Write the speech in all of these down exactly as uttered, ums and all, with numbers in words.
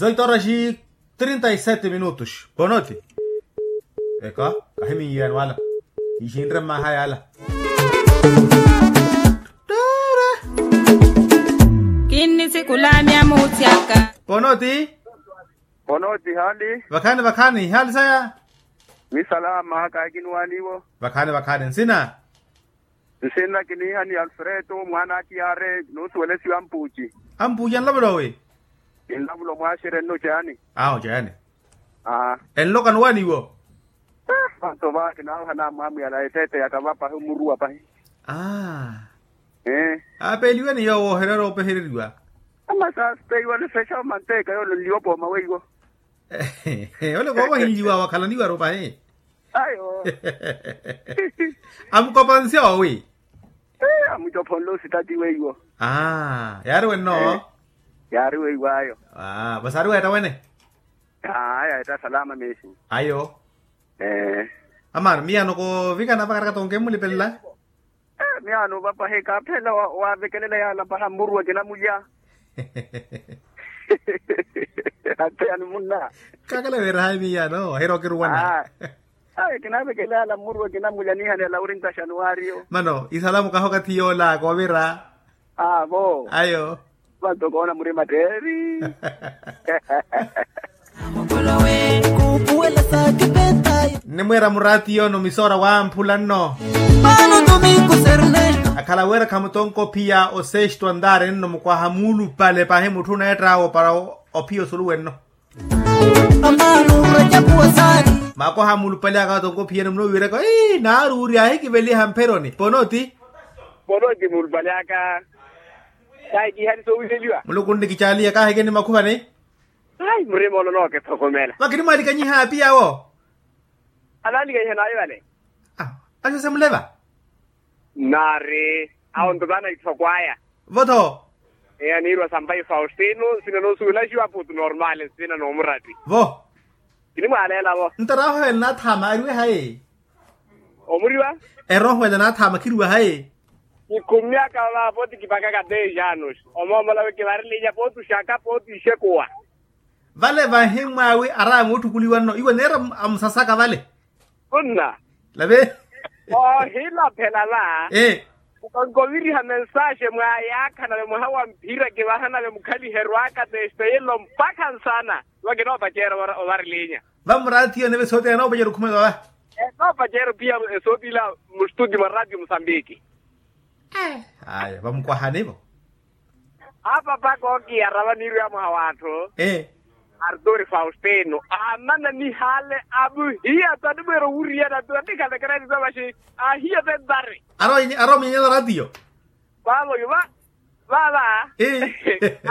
Zoito horas e trinta e sete minutos. Ponoti. Eka, kahiminyiwani wala. Ixinre mmaha yala. Kinnisikulanya muuthyaka. Ponoti. Ponoti hali. Vakhani vakhani hali saya. Ni salama kakinuwaniwo. Vakhani vakhani nsina. Nsinna kiniiha ni alfredo mwaana a tiyare nuusuwelesiwa ampuuci. Ampuuci anlavula owi? Ninlavula omwaxerya nno caani. Awo caani. Enloka nuwaniwo. Vanto va kinaaha namwamwiyala eteete yaka va pahi omuruwa pahi. Aapeeliwe ni yoowo ohererya oopehereriwa. Ama saasipeiwa nifexa omanteeka yoole nliwa opooma weiwo. Ole koovahinliwa wakhalaniwaru pahi. Ayo. Amukopanse owi? Amucophonle ositati weiwo. Yaari wenno? Yaari weiwo ayo. Vasaari weetta wene? Aya etta salama meesi. Ayo. Amaano miyano koovikana vakarakata onkemulipelela. Miyaano vapahi kaaphela wavekelela yaala paha mmuru wa kinamulya. Atteyani munna. Kakala weerahayi miyaano ohirokiruwana. Ayi kinavekelela yaala mmuru wa kinamulya niihaneela wuri ntaxanuwaariyo. Mano isalamu kaha okathi yoola koovira. Aavo. Ayo. Vanto koona murima tteeri. Nnimwiira muraatiyo-no misoora wamphula nno. Akhala wira khamutonka ophiya osesto antaari nno mukwaha muulupale pahi mutthu oneetta opara ophiya osuluwe nno. Mukwaha muulupale aka atonka ophiya nno munuwiiraka naari uri ahikiveliha mpheroni ponoti. Ponoti muulupale aka. Kahi kiihani soowileliwa. Muluku nnikicaaliya kaahikeni makhuvani. Ayi murima ono nookethokomela. Vakinimwaalikanyiha apiyawo. Anaalikanyiha naayo vale. Awo axe semuleva. Nnaari awo nto vaana ithoko aya. Vo-tho. Eya niirwa sampayi faustino nsina noosuwelaxiwa putu normale nsina noomuratti. Vo. Kinimwaaleela vo. Nto erooho ela naathama ariwe hayi? Omuriwa. Erooho ela naathama khiriwa hayi? Kikhummyaka va pooti kipakaka dez anos. Omoomola wi kivarilinya pooti oxaka pooti oxekuwa. Vale vahimmwaawi araamuttukuliwa nno iwe neera amusasaka vale. Khunna. Lave. Oohilaphela va. Ee. Nkonkoviriha mensaxe mwaayaakhana ve mwaha wa mphira kivaha nave mukhaliherwaka testeyelo mpakha nsana. Iwa kinoopaceera ovarilinya. Vamuraathiyo nave soothene anoopaceera okhumela va. Noopaceera ophiya esootila. Mustutio mwa ratio musambiki. Aya vamukwahani vo. Apapaka okiyara vaniirwiya mwaha w'atthu. Arturi faustino aamana nihaale amuhiya tani mweera owuriyana tani khalekerani sa vaxi. Ahiya tentari. Arowa munyenyela ratio. Vaavo yu va vava.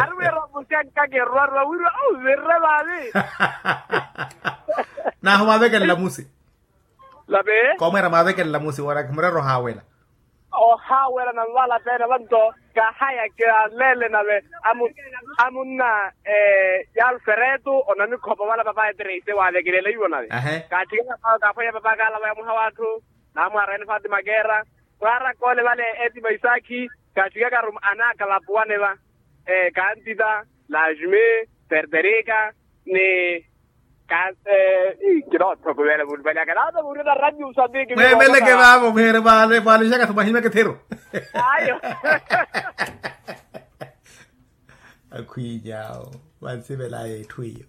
Ari wira omusi ankakerwa arwa wirwa ovirre vaavi. Nahu mwaavekelela musi. Lave. Koomweera mwaavekelela musi woorakhi murero ohaawela. Ohaawela nanvala peene vanto kahaya kialeele nave. Amunna yalferetu onamikhopa vala papayi triste waavekelela iwo nave. Kaatthikela pawe kaaphwanya papa kaalava ya muha w'atthu. Naamwaarayani fatima keera. Mwaarakoole vale etima isaakhi. Kaatthikakaru anaaka vapuwane va. Kantita, lasme, ferterika, ni kinoothokuveela muulupale aka naata muurina radio musambiki. Mweemeleke vaavo mweere vaalixaka thumahimeke thiru. Ayo. Akhwiinyawo vansivela yetthu iyo.